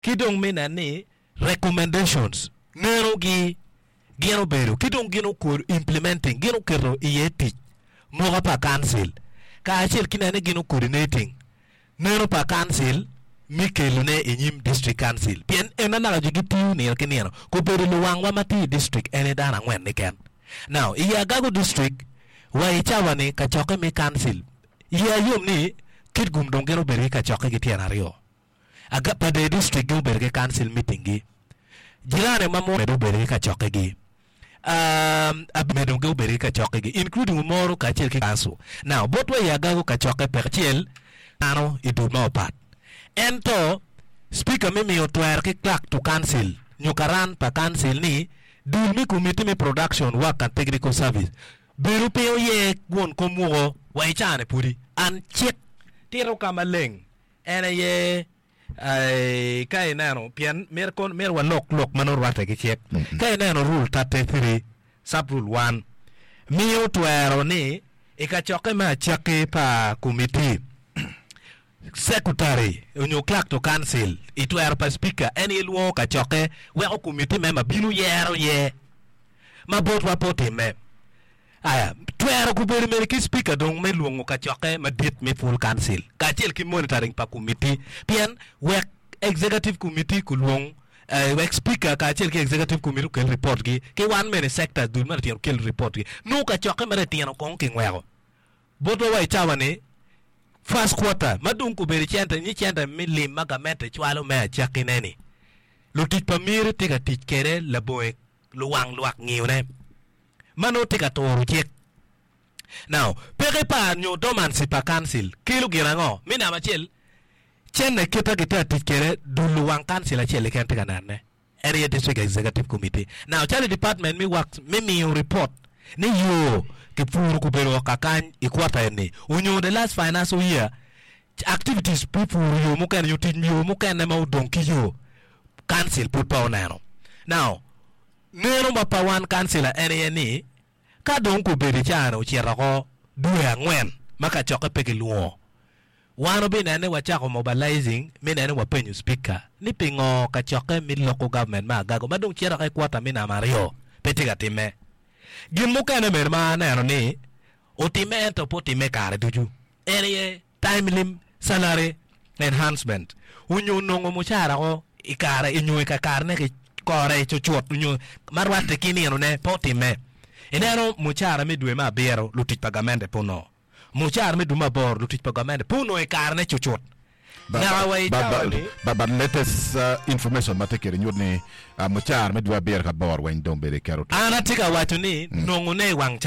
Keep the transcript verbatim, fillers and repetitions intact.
Ki dong me nen ni recommendations nenogi gin obedo ki dong gin okwo implementing gin oketo iye tic moka pa council kacel ki nene gin coordinating neno pa council me kelone i nyim district council pien en anaka jo gitiyo nino ki nino kobedo luwangwa ma tye i district en aye dano angwen keken now i Agago district wa i cawa ni kacokke me council iya yom ni Kitgum dong gin obedo ki kacokke ki tyen aryo Aga Pader district gin obedo ki council meeting gi jirani ma mo medo obedo ki kacokke gi um, medo gi obedo ki kacokke gi including Omoro kacel ki council now botwa i Agago kacokke peke acel dano i dul ma opat ento speaker mi miyo twero ki clerk to council nyo karan pa council ni dul mi committee me production work and technical service bedo pe oye won kom woko wa i cane pudi an cik tito ka maleng en aye eh, ka ineno pien myero kon myero walok lok ma nongo rwatte ki cik ka ineno rule thirty-three sub rule one miyo twero ni i kacokke me acakki pa committee secretary onyo clerk to council i twero pa speaker en aye lwongo kacokke weko committee member bino yero ye ma botwa pe otimme aya twero gubedo mere ki speaker dong me lwongo kacokke madit me full council kacel ki monitoring pa committee pien wek executive committee kulwong eh, wek speaker kacel ki executive committee okel report gi ki wan mene sectors dul ma litino kel report gi nongo kacokke ma litino kong kingweko botwa wa i cawa ni first quarter ma dong kobedo cente ni cente me lim ma gamente cwalo me acakkine ni lutic pa miri tye ka tic kede labongo luwang lwak ngiyone ma nongo tye ka turo cik now peke pa nyo dormancy pa council kelo gin ango mi namba acel cene kita gitye ka tic kede dul luwang council acel keken tye ka nenone en aye district executive committee now calo i department me works me miyo report ni yo kipuro kobedo kakany i quarter eni onyo the last financial year activities pi puro yo mukene nyo tic yo mukene ma odong ki yo council pud pe oneno now neno ma pa wan councilor en aye ni ka dong kobedo i cane ocito oko dwe angwen ma kacokke pe kilwongo wan obinene wacako mobilizing mi nene wapenyo speaker ni pingo kacokke mi local government ma Agago ma dong cito oko i quarter mi namba aryo pe tye ka timme gin mukene bene ma aneno ni otimme ento pe otimme kare ducu en aye timely salary enhancement onyo nongo mucara ko i kare onyo i kakarene ki kore cucut onyo ma rwatte ki ninone pe otimme ineno mucara me dwe me abiro lutic pa gamente pe onongo mucara me dwe me aboro lutic pa gamente pe onongo i karene cucut naka wa i cawa ni But, but latest uh, information ma tye kede nyuto ni uh, mucara me dwe abiro ka aboro weng dong bedo iketo an atye ka waco ni nongone i wang